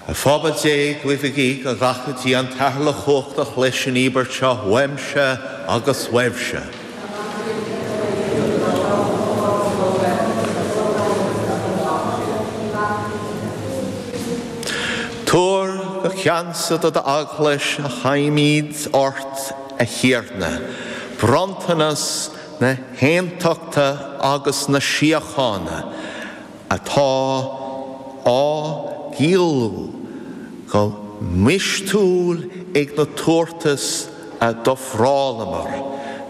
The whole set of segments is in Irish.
A phobal Dé, guímid go nglacfaidh Dia an tAthair uilechumhachtach leis an íobairt seo uaimse agus uaibhse. Tabhair go ceansa do d'Eaglais a ghuímid ort, a Thiarna, bronntanas na haontachta agus na síochána, atá á gciallú go mistiúil ag na tabhartais a d'ofrálamar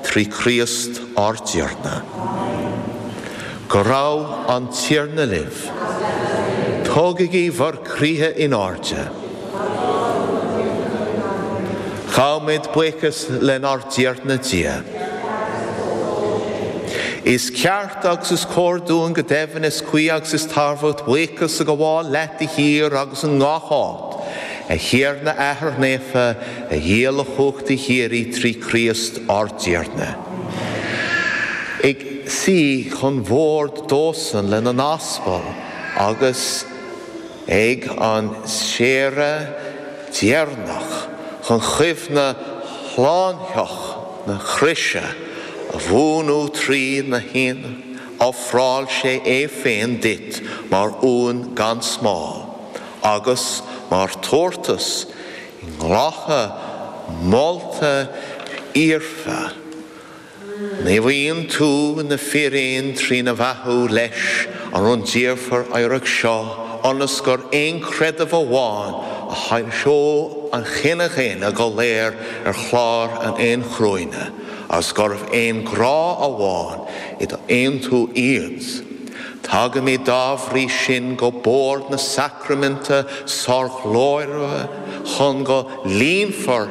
trí Chríost ár dTiarna. Go raibh an Tiarna libh. Tógaigí bhur gcroíthe in airde. Gabhaimid buíochas lenár dTiarna Dia. Is ceart agus is cóir dúinn, go deimhin, is cuí agus is tairbheach buíochas a ghabháil leat de shíor agus i ngach áit, a Thiarna a Athair Naofa, a Dhia uilechumhachtaigh shíoraí trí Chríost ár dTiarna. Ag suí chun bhoird dósan lena n-aspail agus. Ag an saoire dheireanach chun cuimhne shlánaitheach na croise a bhuanú trína ofráil sé é féin duit mar uan gan smál agus mar thabhartas inghlactha molta fhoirfe. Naomhaíonn tú na fíréin trína bheathú leis an rúndiamhair oidhreacht seo, ionas gur aon chreideamh amháin a shoilseoidh an chine dhaonna go léir ar chlár an aon chruinne, agus gurbh aon ghrá amháin i d'aontú iad. Tagaimid dá bhrí sin go bord na sacraiminte sárghlórmhaire chun go líonfar.